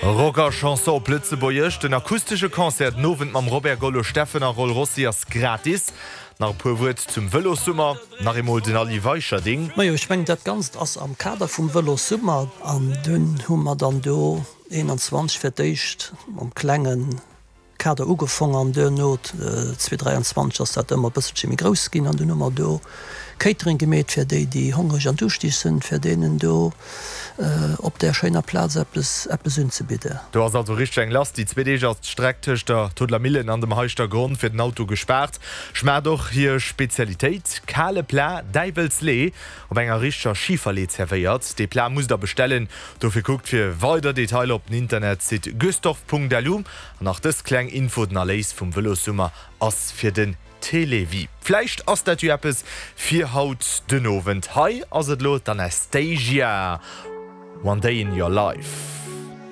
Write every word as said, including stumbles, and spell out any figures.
Rock a Chanson op Lëtzebuergesch, Den akustesche Concert den Owend mam Robert Gollo Steffen a Roll Rossi ass gratis. Nach e puer Wuert zum Vëlossummer, nach eemol den Aly Weicherding. Majo, ech mengen dat Ganzt ass am Kader vum Vëlossummer an dunn hu mer dann do eenanzwanzeg fir d'éischt mam klengen Kader ugefong an duerno zwee dräianzwanzeg ass dat ëmmer e bësselche méi grouss ginn an dunn hu mer do Catering gemeet fir déi, déi hongreg an duuschtig sinn, fir deenen do op där schéiner Plaz eppes, eppes unzebidden. Do ass also richteg eng lass. Déi zwee Deeg ass d'Streck tëscht der Todeler Millen an dem Heischter Gronn fir den Auto gespaart. Schmaacht och hir Spezialitéit, kale Plat, Däiwelslee, op enger richteger Schiferlee zerwéiert. Dee Plat musst der bestellen. Dofir kuckt fir weider Detailer op den Internetsite gustorf.lu. An nach dës kleng Info, Den Erléis vum Vëlossummer ass fir den Télévie. Vläicht ass dat jo eppes fir haut den Owend. Hei ass et elo d'Anastacia, One Day in Your Life.